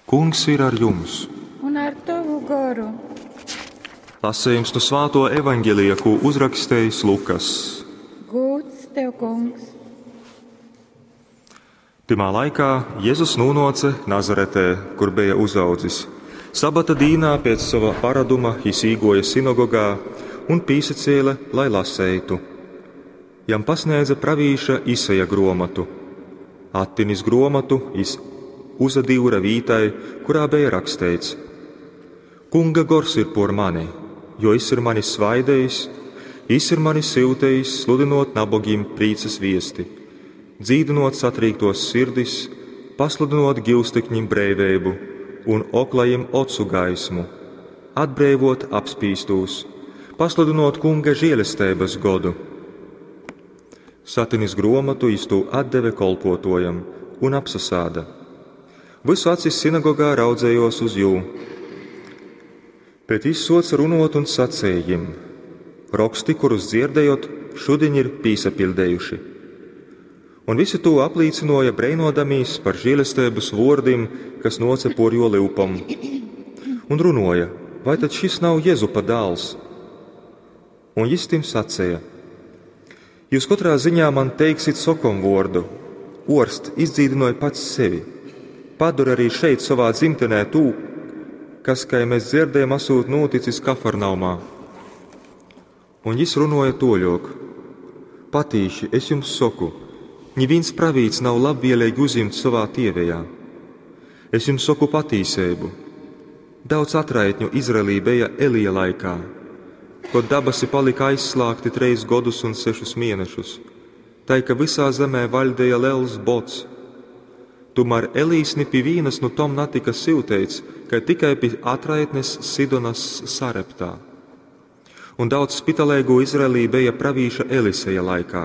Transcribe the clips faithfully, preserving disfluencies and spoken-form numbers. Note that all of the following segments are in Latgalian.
Kungs ir ar jums! Un ar tovu goru. Lasījums no Svāto evaņģelija, ko uzrakstījis Lukas. Gūts tev, kungs! Tymā laikā Jēzus nūnoce Nazaretē, kur bija uzaudzis. Sabata dīnā pēc sava paraduma jis īgoja sinagogā un pīsacēla, lai laseitu. Jam pasniedza pravīša Isaja gromatu. Attinis gromatu, jis uzadīvra vītai, kurā bija raksteits: Kunga gors ir por mani, jo jis ir mani svaidējis, jis ir mani syutējis sludinot nabogim prīcas viesti, dzīdinot satrīktos sirdis, pasludinot gilstekņim breiveibu un oklajiem ocu gaismu, atbreivot apspīstūs, pasludinot kunga žielesteibas godu. Satinis gromatu jis tū atdeve kolpotojam un apsasāda. Visu acis sinagogā raudzējos uz jū. Bet jis soca runot un sacēja jim: Roksti, kurus dzirdējot, šodien ir pīsapildējuši. Un visi to aplīcinoja breinodamīs par žēlestības vordim, kas noce por jo liupam. Un runoja, vai tad šis nav Jezupa dāls? Un jis tim sacēja: Jūs katrā ziņā man teiksit sokom vordu, orst izdzīdinoja pats sevi. Padara arī šeit savā dzimtenē tū, kas, kā mēs dzirdējam, esot noticis Kafarnaumā. Un jis runoja toļok: Patīši, es jums saku, neviens pravīts nav labvēlīgi uzņemts savā tievejā. Es jums saku patīsību. Daudz atraitņu Izraelī bija Elija laikā, kad dabasi palika aizslāgti treis godus un sešus mēnešus, tai, ka visā zemē valdēja liels bots. Tomēr Elīs ni pie vīnas nu tom natika silteits, ka tikai pie atraitnes Sidonas Sareptā. Un daudz spitalēgu Izraelī bija pravīša Eliseja laikā,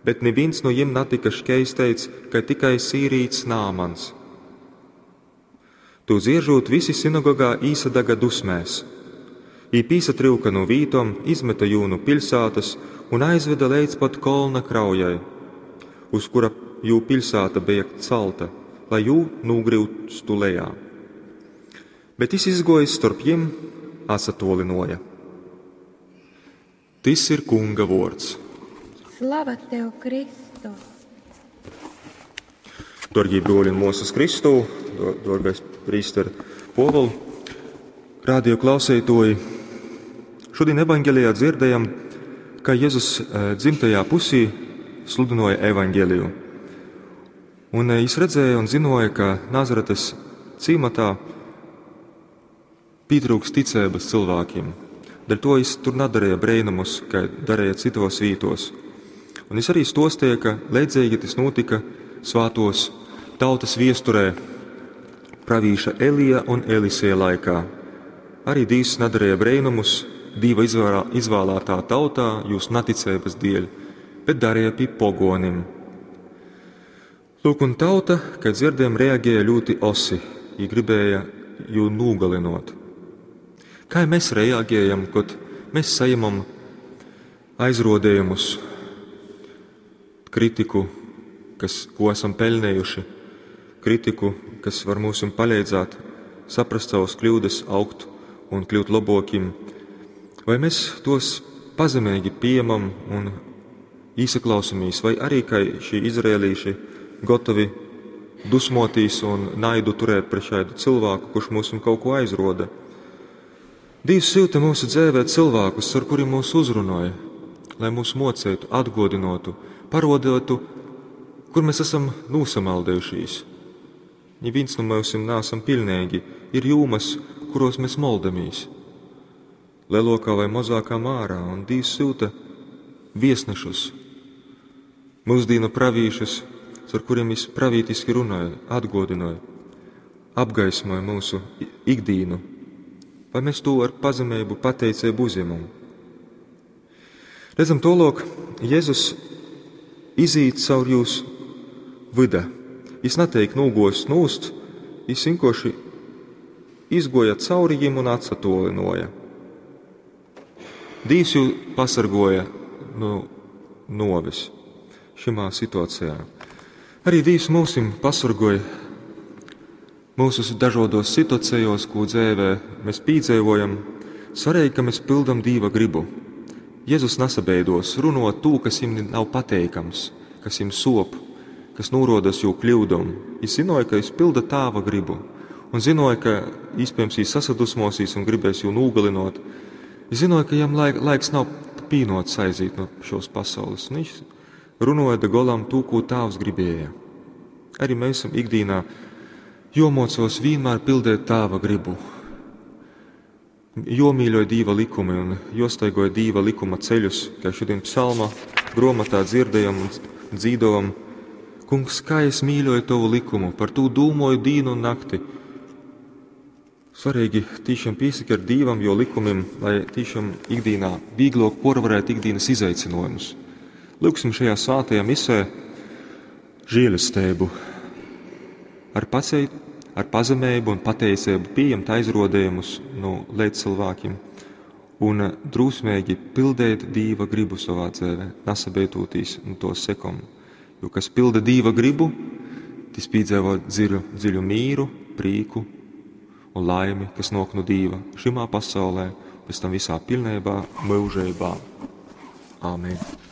bet neviens no jiem natika šķeisteits, ka tikai sīrīts Nāmans. Tu dziežot visi sinagogā īsadaga dusmēs. Ī pīsatriuka no vītom, izmeta jūnu pilsētas un aizveda līdz pat kolna kraujai, uz kura jū pilsēta bija celta, lai jū nūgriustu lejā. Bet jis izgojis starp jim, atsatolinoja. Tis ir kunga vords. Slava tev, Kristu! Dārgie broļi un mūsas Kristū, dārgais prīster Poval, radio klausētoji, šodien evaņģelijā dzirdējam, ka Jēzus dzimtajā pusī sludinoja evaņģeliju. Un jis redzēja un zinoja, ka Nazaretes cīmatā pietrūks ticības cilvēkiem. Dēļ to jis tur nedarīja brēnumus, kā darīja citos vītos. Un jis arī stostīja, ka leidzīgi tas notika svātos tautas viesturē pravīša Elija un Elisija laikā. Arī Dīvs nedarīja brēnumus Dīva izvēlētā tautā jūs neticības dēļ, bet darīja pie pogonim. Lūk, un tauta, kad dzirdējām, reaģēja ļoti osi, ja gribēja jū nogalinot. Kā mēs reaģējam, kad mēs saņemam aizrodējumus, kritiku, kas, ko esam pelnējuši, kritiku, kas var mums palīdzēt saprast savas kļūdas, augt un kļūt labokim, vai mēs tos pazemīgi pieņemam un īsaklausāmies, vai arī, kā šī izrēlīši, gotovi dusmotīs un naidu turēt pret šādu cilvēku, kurš mūs un kaut ko aizroda. Dievs syuta mūsu dzēvē cilvēkus, ar kuriem mūs uzrunoja, lai mūs mocētu, atgodinotu, parodotu, kur mēs esam nosamaldējušies. Neviens no mums neesam pilnīgi, ir jūmas, kuros mēs moldamies. Lielākā vai mazākā mārā, un Dievs syuta viesnešus, mūsdīnu pravīšus, ar kuriem viņš pravītiski runāja, atgodināja, apgaismoja mūsu ikdīnu. Vai mēs to ar pazemību, pateicību uzņemam? Redzam, tolok, Jēzus izīt caur jūs vida. Jis neteik nūgos nūst, jis vienkārši izgoja cauri jim un atsatolinoja. Dīvs jū pasargoja no novis šimā situācijā. Arī Dīvs mūsim pasargoja Mūsu dažādos situācijos, ko dzīvē mēs piedzīvojam, svarīgi, ka mēs pildam Dīva gribu. Jēzus nasabeidos runot to, kas viņam nav pateikams, kas viņam sop, kas nūrodas jū kļūdom. Viņš zināja, ka viņš pilda tāva gribu, un zināja, ka iespējams viņš sasadusmosīs un gribēs jū nogalinot. Viņš zināja, ka jam laik, laiks nav pīnots aiziet no šos pasaules, un viņš runoja da golam to, ko tāvs gribēja. Arī mēs esam ikdienā jomocos vienmēr pildēt tāva gribu, jomīļoja Dīva likumi un jostaigoja Dīva likuma ceļus, kā šodien psalma grāmatā dzirdējam un dzīdovam. Kungs, kā es mīļoju tavu likumu, par to dūmoju dīnu un nakti. Svarīgi tiešām piesakart Dīvam, jo likumim, lai tiešām ikdienā vieglāk porvarēt ikdienas izaicinājumus. Lūksim šajā svētajā misē žēlastību ar paceit, ar pazemību un pateicību pieņemt aizrodējumus no līdzcilvēkiem un drūsmīgi pildēt Dīva gribu savā dzīvē, nesabētūtīs un to sekom. Jo kas pilda Dīva gribu, tas piedzīvo dziļu, dziļu mīru, prīku un laimi, kas nāk no Dīva šimā pasaulē, pēc tam visā pilnībā, mūžībā. Āmen.